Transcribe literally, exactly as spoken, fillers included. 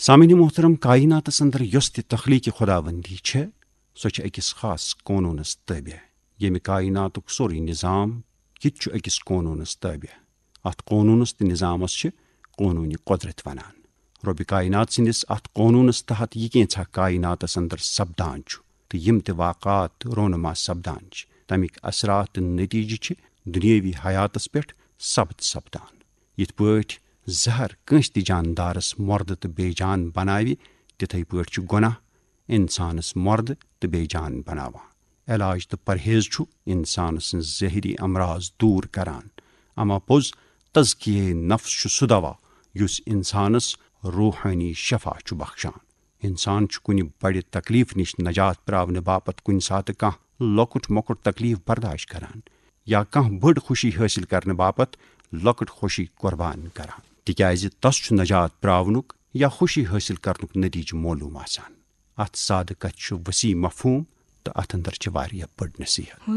سامعین محترم، کائناتس اندر یۄس تہِ تخلیق خداوندی چھےٚ، سۄ چھےٚ أکِس خاص قونوٗنس تابع، ییٚمہِ کائناتُک سورُے نظام، یہِ تہِ چھُ أکِس قونوٗنس تابع۔ اتھ قونوٗنس تہٕ نظامس چھِ قونوٗنِ قۄدرت ونان۔ رۄبِ کائنات سٕنٛدِس اتھ قونوٗنس تحت یہِ کینٛژھا کائناتس اندر سپدان چھُ تہٕ یِم تہِ واقعات رونما سپدان چھِ، تمِکۍ اثرات تہٕ نتیجہٕ چھِ دنیاوی حیاتس پٮ۪ٹھ ثبت سپدان۔ یِتھ پٲٹھۍ زہر کٲنٛسہِ تہِ جاندارس مۄردٕ تہٕ بے جان بناوِ، تِتھے پٲٹھۍ چھُ گۄناہ انسانس مۄردٕ تہٕ بے جان بناوان۔ علاج تہٕ پرہیز چھُ انسان سٕنٛز ظٲہری امراض دوٗر کران، اما پوٚز تزکیہ نفس چھُ سُہ دوا یُس انسانس روحٲنی شفا چھُ بخشان۔ انسان چھُ کُنہِ بڑِ تکلیف نِش نجات پراونہٕ باپتھ کُنہِ ساتہٕ کانٛہہ لۄکُٹ مۄکُٹ تکلیف برداشت کران یا کانٛہہ بٔڑ خوشی حٲصِل کرنہٕ باپتھ لۄکٕٹ خوشی قربان کران، تِکیازِ تس چھُ نجات پراونُک یا خوشی حٲصِل کرنُک نتیجہٕ معلوم آسان۔ اتھ سادٕ کتھِ چھُ وسیع مفہوم تہٕ اتھ اندر چھِ واریاہ بٔڑ نصیحت۔